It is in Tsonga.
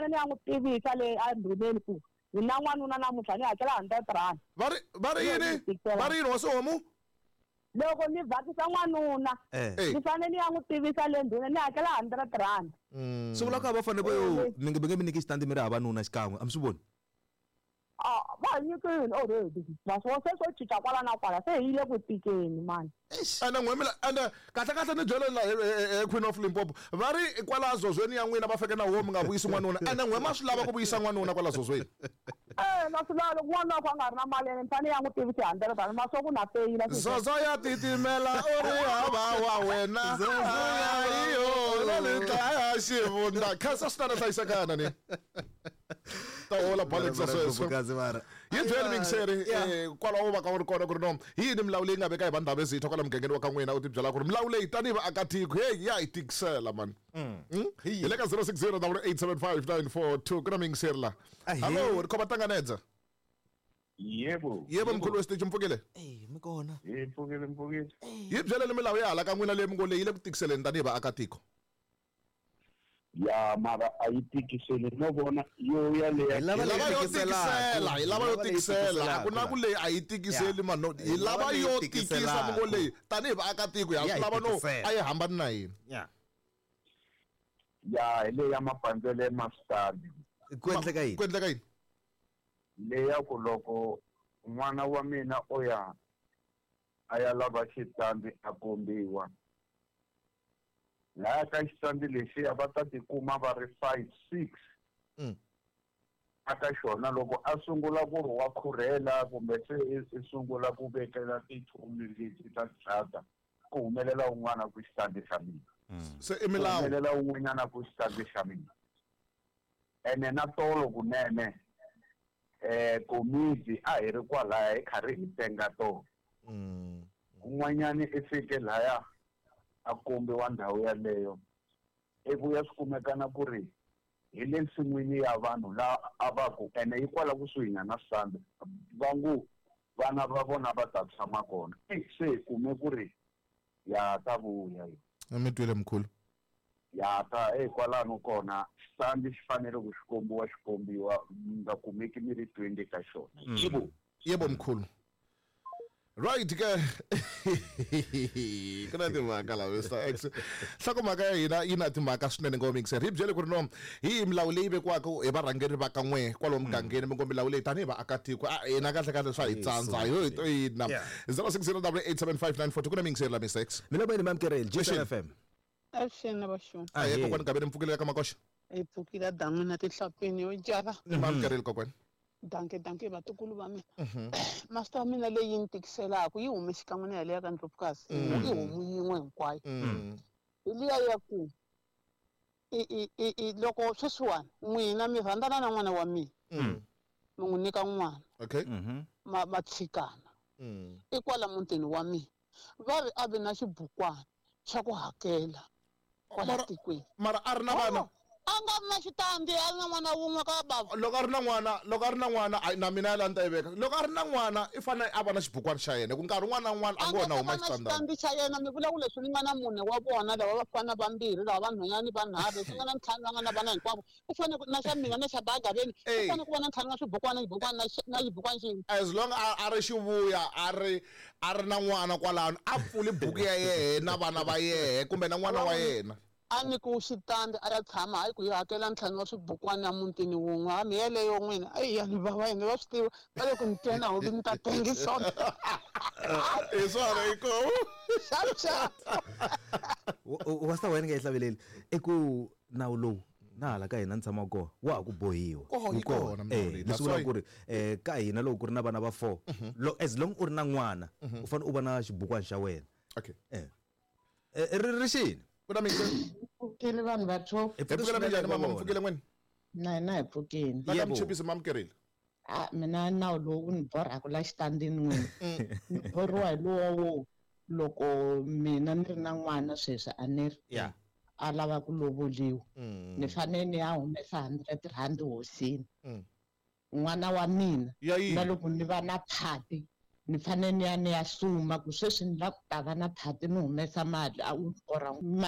fanele ni ya n'wi tivisa le endhuneni ku ni na n'wanuna namuntlha ni hakela R100. Va ri yini? Va ri yini hosi homu? Loko ni vhakisa n'wanuna, ni fanele ni ya n'wi tivisa le ndhuneni ni hakela R100. Swi vula ku a va fanele va yo mi nge mi nge mi nyiki xitandi mi ri havanuna xikan'we, a mi swi voni? Ah, va hi nyikile already. Naswona se swo cinca kwala na kwala se hi yile ku tikeni mani. Ene n'we mina ene kahle kahle ni byele la he Queen of Limpopo va ri kwala zozweni ya n'wina va feke na wo mi nga vuyisi n'wanuna ene n'we ma swi lava ku vuyisa n'wanuna kwala zozweni. Eh, na swi lava loko n'wanuna wa ku a nga ri na mali ene ni fanele ya n'wi tivisa hi R100 ma swa ku na feyila. Zozo ya titimela u ri hava wa wena. Ayo na le dlaya xivundza. Khensa swinene hlayisekana ni. Ta hola Bolex sweswo. Yi byeli mingiseri kwalaho va ka u ri kona ku ri no hi yini milawu leyi nga veka hi vandhawu ezitha kwala mugangeni wa ka n'wina u tibyela ku ri milawu leyi tanihi vaakatiko heyi ya hi tikisela mani. Hi le ka 060 875 ku na mingiseri la. Hallo ri khoma tanganedza. Yebo. Yebo mkhulu wesiteji mpfukile. Eh mi kona. Hi pfukile mpfukile. Yi byeleni milawu ya hala ka n'wina leyi mi ngo leyi le ku tikiseleni tanihi vaakatiko. Ya mara a yi tikiseli no vona yo ya leya. Hi lava Hi lava yo tikiselaka. tikisela, hi lava yo tikisela. A ku na ku leyi a yi tikiseli man. No, hi lava yo tikisa mi ngo leyi tanihi vaakatiko ya swi lava no a yi hambani na hina. Yeah. Ya hi leyi ya mapandzele ma switandi. Ku endleka yini? Ku endleka yini? Leya ku loko n'wana wa mina o ya a ya lava xitandi a kombiwa. Laya ka xitandi lexiya va ta tikuma va ri 5 6. Aka xona loko a sungula ku ri wa khurhela kumbe se i sungula ku vekela tichomi leti ta drata ku humelela un'wana ku xitandi xa mina. Se i milawu. Ku humelela un'wanyana ku xitandi xa mina. Ene na tolo kunene komiti a hi ri kwalaya hi karhi hi tenga tolo. Un'wanyani i fike laya a kombiwa ndhawu yaleyo i vuya swi kumekana ku ri hi le nsin'wini ya vanhu la a va ku ene yi kwala kusuhi nyana switandi va ngo vana va vona va ta tshama kona se hi kume ku ri ya ta vuya yo. Mi twile mkhulu. Ya ta kwalano kona xitandi xi fanele ku xi kombiwa xi kombiwa mi nga kumeki mi ri 20 ka xona. Yebo. Yebo mkhulu. Right ke. Ku na timhaka la Mr X. Nhlokomhaka ya hina yi na timhaka swinene ngo mixer. Hi byele ku ri no hi milawu leyi vekiwaka hi varhangeri va ka n'we kwalomu mugangeni mi ngo milawu leyi tanihi vaakatiko a hina kahle kahle swa hi tsandza hi yo hina. 060 875 ku na mixer la Mr X. Mina ba ni mamkereli Jason FM. Avuxeni vaxoni. Ahe kokwani Gaveni mpfukile ka Makoxa. Hi pfukile dan'wini tihlapini yo java. Ni mamkereli kokwani. Danke danke vatukulu va mina. Master wa mina leyi ni tikiselaka yi hume xikan'we na yaleyo ka Ndlovukazi. I homu yin'we hinkwayo. Hi liya ya ku i loko sweswiwani n'wina mi rhandzana na n'wana wa mina. Mi n'wi nyika n'wana. Okay. Ma tshikana. I kwala mutini wa mina. Va ri a vi na xibukwana xa ku hakela kwala tikweni. Mara a ri na vana. A nga ri na xitandi, a ri na n'wana wun'we ka bava. Loko a ri na n'wana, loko a ri na n'wana, na mina ya la ni ta yi veka. Loko a ri na n'wana, i fanele a va na xibukwana xa yena. Ku nkarhi wun'wana na wun'wana a ngo na huma xitandani. Xitandi xa yena, mi vula ku leswi ni nga na mune wa vona lava vafana vambirhi, lava vanhwanyana vanharhu, leswi nga na ntlhanu va nga na vana hinkwavo. U fanele ku na xa mina na xa Bagaveni, u fanele ku va na ntlhanu wa xibukwana, xibukwana na xibukwana xin'we. As long a ri xivuya, a ri a ri na n'wana kwalano, a pfuli buku ya yehe na vana va yehe kumbe na n'wana wa yena. A nyikiwe xitandi a ya tshama, hayi ku yi hakela ntlhanu wa swibukwana emutini wun'we. Hambi yeleyo n'wina, eyi ya ni vava yini, va swi tiva va le ku ni twena hobi ni ta tengisona. Hi swona i ko. Xap xap. Wasta wena nga yi hlaveleli i ku nawu lowu na hala ka hina ni tshamaka kona wa ha ku bohiwa. Yi kona milawu leyi. Leswi vulaka ku ri ka hina loko ku ri na vana va 4, as long u ri na n'wana u fanele u va na xibukwana xa wena. Okay. Ri xini? Ku na minke. Pfukile vanhu va top. Hi pfukile minjhani mama mpfukile n'wini? Na hina hi pfukile. La ka Mchipisi mamukerile. A mina nawu lowu wu ni borhaka la xitandini n'wini. Ni borhiwa hi lowa wo loko mina ni ri na n'wana sweswi a ni ri. A lava ku lovoliwa. Ni fanele ni ya humesa 100 rand hosini. N'wana wa mina na loko ni va na phati ni fanele ni ya ni ya suma ku sweswi ni lava ku ta va na phati ni humesa mali a wu borha